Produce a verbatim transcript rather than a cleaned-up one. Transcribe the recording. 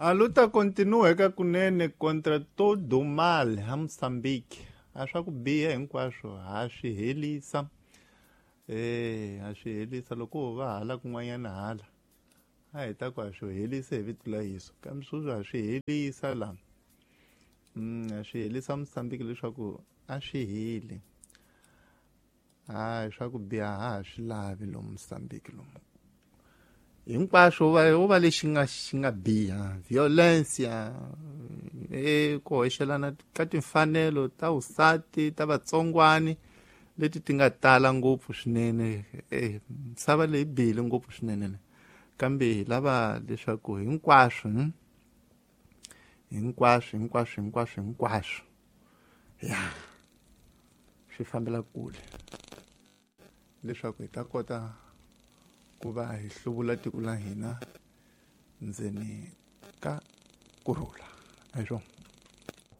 A luta continua eka kunene contra todo o mal ha Moçambique. A swa ku biha hinkwaswo ha swi helisa. Eh, ha swi helisa loko ho va hala kun'wanyana hala. A hi ta ku ha swi helisa hi vito la Yesu. Kambe sweswi ha swi helisa la. Mm, ha swi helisa Moçambique leswaku a swi heli. Hayi swa ku biha ha ha swi lavi lomu Moçambique lomu. Hinkwaswo va wo va lexi nga xi nga biha violencia e ku hoxelana ka timfanelo ta vusati ta vatsongwani leti ti nga tala ngopfu swinene e misava leyi bihile ngopfu swinene kambe hi lava leswaku hinkwaswo hinkwaswo hinkwaswo hinkwaswo hinkwaswo ya swi fambela kule leswaku hi ta kota ku va hi hluvula tiko la hina ndzeni ka kurhula a hi swona.